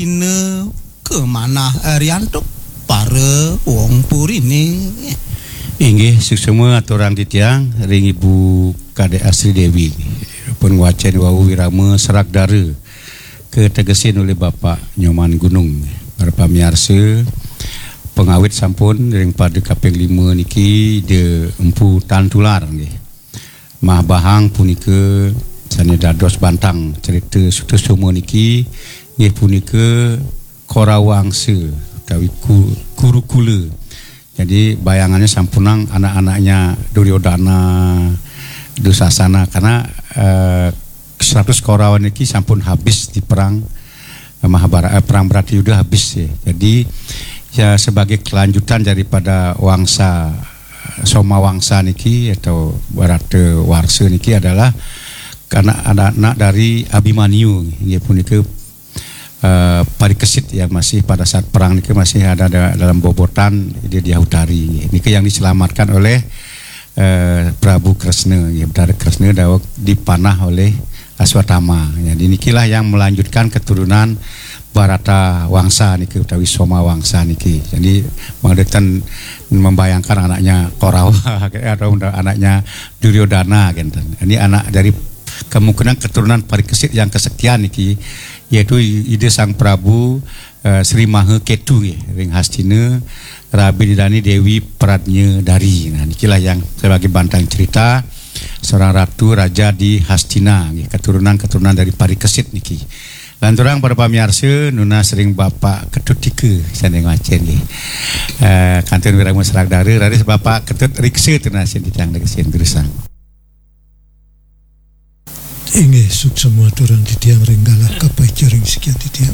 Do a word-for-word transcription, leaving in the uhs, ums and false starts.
Ina kemanah, eh, riantuk para wong purine. Inggih, suksma aturang titiang ring Ibu Kadek Asri Dewi. Pun ngwacen wau wirama serak dara kategesin oleh Bapak Nyoman Gunung. Para pamiarsa, pangawit sampun ring pada kaping lima niki Ida Empu Tan Tular nggih. Mah Bahang punika sane dados bantang cerita Sutasoma niki, nggih, punika Korawangsa utawi ku-, Kurukula. Jadi bayangannya sampunang anak-anaknya Duryodana, Dusasana, karena, eh, seratus Korawa niki sampun habis di perang, eh, Mahabharata, eh, perang Bratayuda habis ya. Jadi ya sebagai kelanjutan daripada wangsa, eh, Soma Wangsa niki atau Barata Warsa niki adalah karena anak-anak dari Abimanyu, nggih, punika, eh, parikesit yang masih pada saat perang niki masih ada da-, dalam bobotan di Diah Utari, nggih. Niki yang diselamatkan oleh, eh, Prabu Kresna, nggih, Betara Kresna daweg dipanah oleh Aswatama. Jadi nikilah yang melanjutkan keturunan Barata Wangsa niki utawi Soma Wangsa niki. Jadi mangda ten membayangkan anaknya Korawa atau anaknya Duryodana kenten. Ini anak dari kemungkinan keturunan parikesit yang kesekian niki, yaitu Ida Sang Prabu, eh, Sri Maha Ketu nggih, ring Hastina, rabi didani Dewi Pradnya Dari. Nah, nikilah yang sebagai bantang cerita seorang ratu raja di Hastina nggih, keturunan-keturunan dari parikesit niki. Lanturang para pamiarsa, nunas ring Bapak Ketut Tika sane ngwacen nggih. Eh, kantun wirama serak dara, raris Bapak Ketut riksa tunasin titiang riksin durusang. Inggih, suksma aturang titiang ring galah kapaica ring sikian titiang.